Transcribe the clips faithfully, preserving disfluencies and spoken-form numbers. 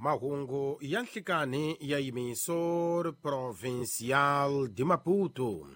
Mahungu ya nhlikani ya Emissora Provincial de Maputo.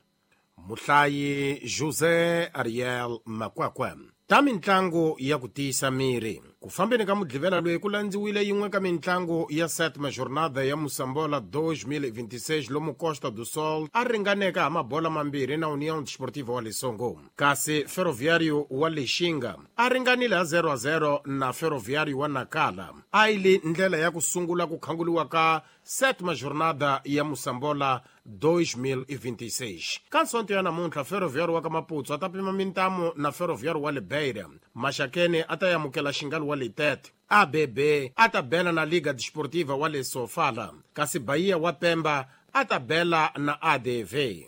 Muhlayi José Ariel Makwakwa. Ta mintlangu ya ku tiyisa miri. Ku fambeni ka mudlivela loyi ku landziwile yin'we ka mintlangu ya sétima jornada ya Moçambola dois mil e vinte e seis lomu Costa do Sol a ringaneka ha mabola mambirhi na União Desportiva wa Lesongo. Kasi Ferroviário wa Lixinga a ringanile ha zero a zero na Ferroviário wa Nacala. A yi li ndlela ya ku sungula ku khanguliwa ka sétima jornada ya Moçambola dois mil e vinte e seis. Ka nsonto ya namuntlha Ferroviário wa ka Maputo a ta pima mintamu na Ferroviário wa Libeira. Maxakene a ta amukela Xingali wa Litete. A B B a ta bela na Liga Desportiva wa Lesofala. Kasi Bahia wa Pemba a ta bela na A D V.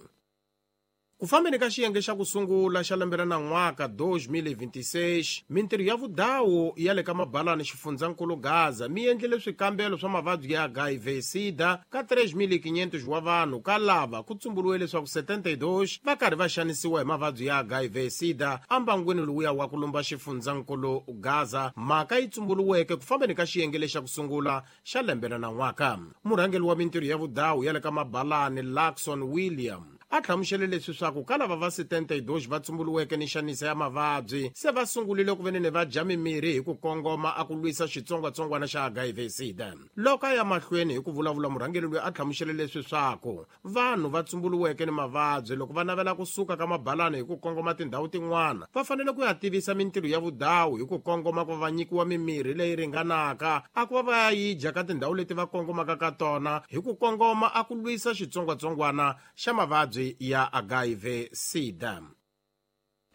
Ku fambeni ka xiyenge xa ku sungula xa lembe ra nan'waka dois mil e vinte e seis, mintirho ya vudawu ya le ka mabalani xifundzankulu Gaza mi endlile swikambelo swa mavabyi ya H I V SIDA ka três mil e quinhentos wa vanhu ka lava ku tsumburiwe leswaku setenta e dois va karhi va xanisiwa hi mavabyi ya H I V SIDA ambangwini lowuya wa ku lumba xifundzankulu Gaza. Mhaka yi tsumburiweke ku fambeni ka xiyenge lexa ku sungula xa lembe ra nan'waka. Murhangeri wa mintirho ya vudawu ya le ka mabalani Luxon William a hlamusele leswi swa ku ka lava va setenta e dois va tsumburiweke ni xanisa ya mavabyi se va sungurile ku venene va dya mimirhi hi ku kongoma a ku lwisa xitsongwatsongwana xa H I V SIDA. Loko a ya mahlweni hi ku vulavula murhangeri loyi a hlamusele leswi swa ku vanhu va tsumburiweke ni mavabyi loko va navela kusuka ka mabalani hi ku kongoma tindhawu tin'wana va fanele ku ya tivisa mintirho ya vudawu hi ku kongoma ku va nyikiwa mimirhi leyi ringanaka a ku va va ya yi dya ka tindhawu leti va kongomaka ka tona hi ku kongoma a ku lwisa xitsongwatsongwana xa mavabyi ya H I V SIDA.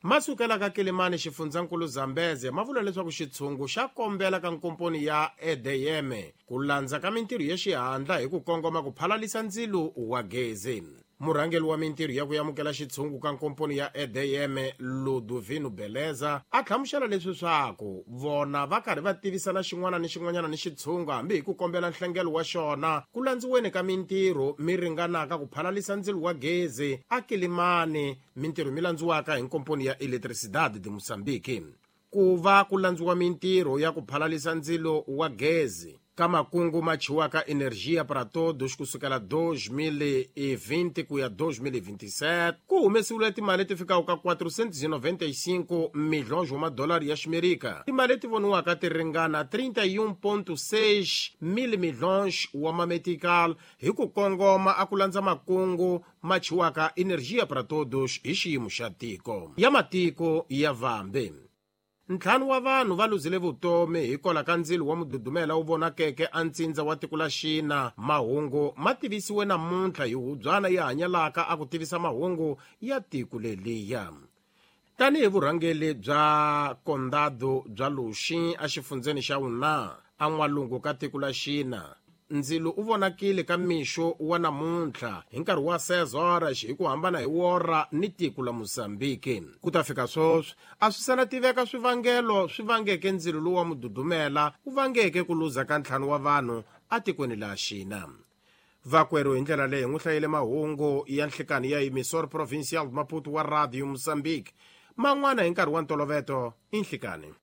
Masukela ka Kilimani xifundzankulu Zambeze ma vula leswaku xitshungu xa kombela ka nkomponi ya E D M ku landza ka mintirho ya xihatla hi ku kongoma ku phalalisa ndzilo wa gezi. Murhangeri wa mintirho ya ku amukela xitshungu ka nkomponi ya E D M Ludovino Beleza a hlamusela leswi swaku vona va karhi va tivisana xin'wana ni xin'wanyana ni xitshungu hambi hi ku kombela nhlengelo wa xona ku landziweni ka mintirho mi ringanaka ku phalalisa ndzilo wa gezi a Kilimani mintirho mi landziwaka hi nkomponi ya Eletricidade de Moçambique. Ku va ku landziwa mintirho ya ku phalalisa ndzilo wa gezi ka makungu ma chiwaka Energia para Todos kusukela dois mil e vinte ku ya dois mil e vinte e sete ku humesiwile timali leti fikaka ka quatrocentos e noventa e cinco milhões wa madolari ya Ximerika. Timali leti voniwaka ti ringana trinta e um ponto seis mil milhões wa mametical hi ku kongoma a ku landza makungu ma chiwaka Energia para Todos hi xiyimo xa tiko ya matiko ya vambe. Ntlhanu wa vanhu va luzile vutomi hikwalaho ka ndzilo wa mududumela wu vonakeke a ntsindza wa tiko la Xina. Mahungu ma tivisiwe namuntlha hi hubyana yi hanyalaka a ku tivisa mahungu ya tiko leliya. Tanihi vurhangeri bya Condado bya Luxi exifundzeni xa Yunnan a n'walungu ka tiko la Xina, ndzilo u vonakile ka mixo wa namuntlha hi nkarhi wa seis horas hi ku hambana hi wora ni tiko la Mozambique. Ku ta fika sweswi a swi sala tiveka swivangelo swi vangeke ndzilo lowu wa mududumela wu vangeke ku luza ka ntlhanu wa vanhu atikweni la Xina. Vakwerhu hi ndlela leyi n'wi hlayile mahungu ya nhlikani ya Emissora Provincial Maputo wa Radio Mozambique. Man'wana hi nkarhi wa ntoloveto i nhlikani.